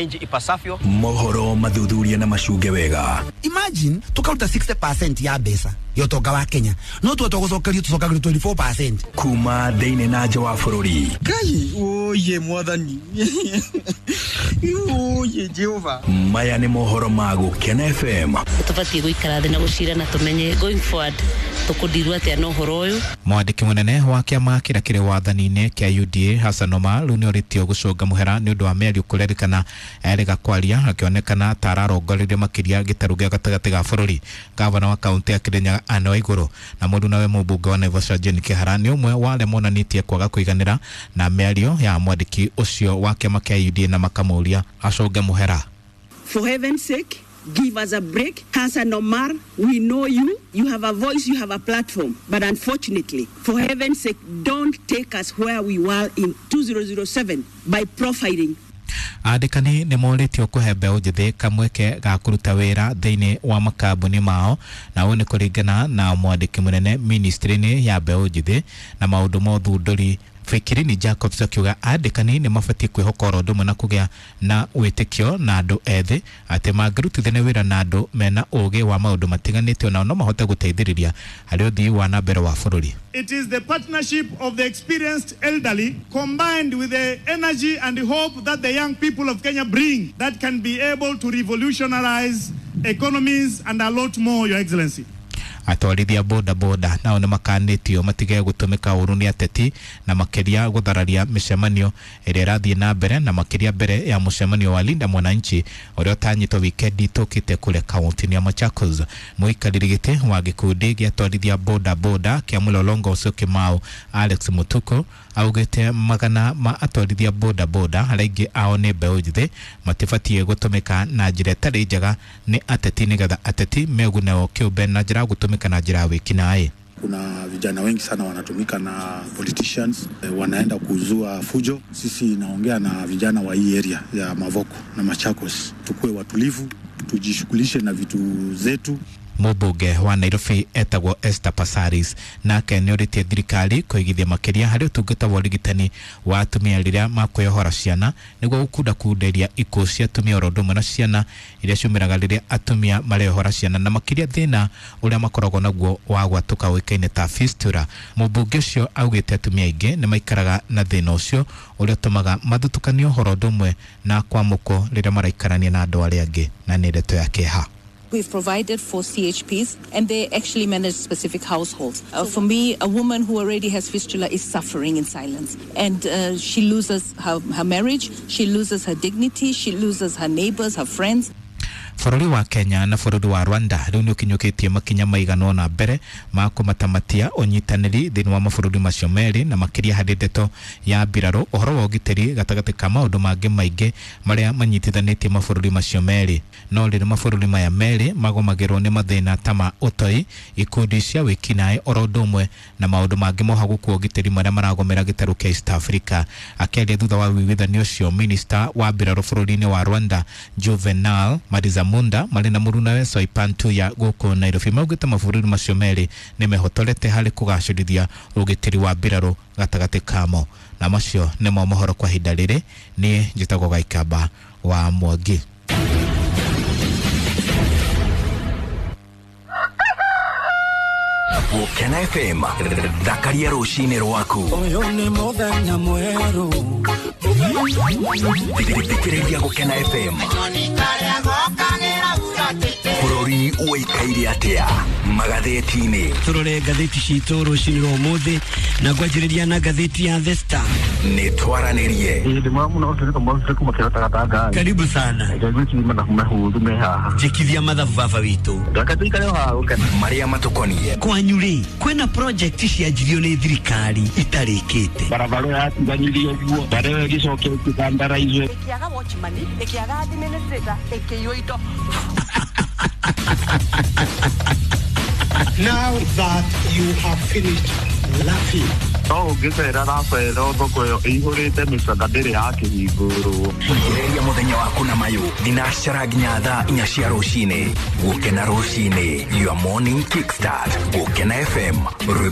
wananchi ipasavyo. Mohoro mathuthuria na macunge wega. Imagine tukaruta 60% ya mbeca ya ũtonga wa Kenya, no tuoto gũcokerio tũcokagĩrio 24%. Kuma thĩinĩ na nja wa bũrũri. Kai oye mwathani. Oye Jehova. Maya nĩ mohoro ma Gũkena FM. Tũbatiĩ gũikara thĩ na gũcira na tũmenye going forward tũkũndirwo atĩa na ũhoro ũyũ. Mwandĩki mũnene wa kĩama kĩrĩa kĩrĩ wathani-inĩ kĩa UDA Hassan Omar rĩu nĩorĩtio gũcũnga mũhera nĩ ũndũ wa mĩario kũrerĩkana erĩga kwaria akĩonekana ta ararongoreirie makĩria gĩtarũ gĩa gatagatĩ ga bũrũri. Gavana wa kaũntĩ ya Kirinyaga Anne Waigũrũ na mũrunawe mũmbunge wa Naivasha Jane Kĩhara nĩ ũmwe wa arĩa monanĩtie kwaga kũiganĩra na mĩario ya mwandĩki ũcio wa kĩama kĩa UDA na makamũria acũnge mũhera. For heaven's sake, give us a break. Hassan Omar, we know you. You have a voice, you have a platform. But unfortunately, for heaven's sake, don't take us where we were in 2007 by profiling. Andĩkani nĩ morĩtio kũhe mbeũ njĩthĩ kamweke ga kũruta wĩra thĩinĩ wa makambuni mao, na ũũ nĩ kũringana na mwandĩki mũnene ministry-inĩ ya mbeũ njĩthĩ na maũndũ ma ũthundũri Fikirini Jacobs akiuga andĩkani nĩ mabatiĩ kwĩhoka oro ũndũ ũmwe na kũgĩa na wĩtĩkio na andũ ethĩ atĩ mangĩrutithania wĩra na andũ mena ũgĩ wa maũndũ matiganĩte onao no mahote gũteithĩrĩria harĩ ũthii wa na mbere wa bũrũri. It is the partnership of the experienced elderly combined with the energy and the hope that the young people of Kenya bring that can be able to revolutionize economies and a lot more, Your Excellency. Atwarithia boda boda nao nĩ makanĩtio matige gũtũmĩka ũru nĩ ateti na makĩria gũthararia mĩcemanio ĩrĩa ĩrathiĩ na mbere na makĩria mbere ya mũcemanio wa Linda Mwananchi ũrĩa ũtanyĩtwo wikendi tũkĩte kũrĩa kaũntĩ ya Machakos. Mũikarĩri gĩtĩ wa gĩkundi gĩa atwarithia boda boda kĩa mũlolongo ũcio Kĩmau Alex Mutuku augĩte magana ma atwarithia boda boda arĩa aingĩ ao nĩ mbeũ njĩthĩ matibatiĩ gũtũmĩka na njĩra ĩtarĩ njega nĩ ateti nĩgetha ateti meguneo kĩũmbe na njĩra ya gũtũmĩka na njĩra ya wĩkinaĩ. Kuna vijana wengi sana wanatumika na politicians, wanaenda kuzua fujo. Sisi naongea na vijana wa hii area ya Mavoko na Machakos, tukue watulivu, tujishughulishe na vitu zetu. Mũmbunge wa Nairobi etagwo Esther Passaris nake nĩorĩtie thirikari kũigithia makĩria harĩ ũtungata wa ũrigitani wa atumia rĩrĩa makwĩyohora ciana nĩguo gũkundakunderia ikuũ cia atumia oro ũndũ ũmwe na ciana iria ciumĩraga rĩrĩa atumia mareyohora ciana na makĩria thĩna ũrĩa makoragwo naguo wa gwatũka ũĩkaine ta fistula. Mũmbunge ũcio augĩte atumia aingĩ nĩ maikaraga na thĩna ũcio ũrĩa ũtũmaga mathutũkanio ũhoro ũndũ ũmwe na kwamũkwo rĩrĩa maraikarania na andũ arĩa angĩ, na nĩ ndeto ya kĩeha. We've provided for CHPs and they actually manage specific households. For me, a woman who already has fistula is suffering in silence. And she loses her marriage, she loses her dignity, she loses her neighbors, her friends. Bũrũri wa Kenya na bũrũri wa Rwanda rĩu nĩ ũkinyũkĩtie makinya maigana ũna mbere ma kũmatamatia ũnyitanĩri thĩinĩ wa mabũrũri macio merĩ na makĩria harĩ ndeto ya mbirarũ, ũhoro wa ũgitĩri gatagatĩ ka maũndũ mangĩ maingĩ marĩa manyitithanĩtie mabũrũri macio merĩ. No rĩrĩ mabũrũri maya merĩ magomagĩrwo nĩ mathĩna ta ma ũtoi, ikundi cia wĩkinaĩ oro ũndũ ũmwe na maũndũ mangĩ mohagũku ũgitĩri marĩa maragomera gĩtarũ kĩa East Africa. Akĩaria thutha wa ũiguithanio ũcio, minista wa mbirarũ bũrũri-inĩ wa Rwanda Juvenal Marizamunda marĩ na mũrunawe Soipan Tuya gũkũ Nairobi maugĩte mabũrũri macio merĩ nĩ mehotorete harĩ kũgacĩrithia ũgitĩri wa mbirarũ gatagatĩ kamo. Na macio nĩmo mohoro kwa ihinda rĩrĩ. Niĩ njĩtagwo Gaikamba wa Mwangi. Gũkena FM, thakaria rũcinĩ rwaku. Ũyũ nĩ mũthenya mwerũ. Thikĩrĩria Gũkena FM. Bũrũri ũikaire atĩa magathĩti-inĩ? Tũrore ngathĩti citũ rũcinĩ rwa ũmũthĩ na ngwanjĩrĩria na ngathĩti ya The Star. Nĩ twaranĩrie. Karibu sana. Njĩkithia mathabu baba witũ. Marĩa matũkoniĩ. Kwanyu rĩ, kwĩna project cianjirio nĩ thirikari itarĩkĩte. Barabara yatiganirio ũguo, barabara ĩgĩcoka ĩkĩthandaraizwo. Ĩkĩaga watchman, ĩkĩaga administrator, ĩkĩiywo indo. Now that you have finished laughing. No ũngĩcera rabero thoko ĩyo ĩihũrĩte mĩcaka ndĩrĩ yakĩhingũrwo. Ongereria mũthenya waku na mayũ thinacara nginya thaa 4 cia rũcinĩ. Gũkena rũcinĩ, your morning kickstart. Gũkena FM, rwĩmbo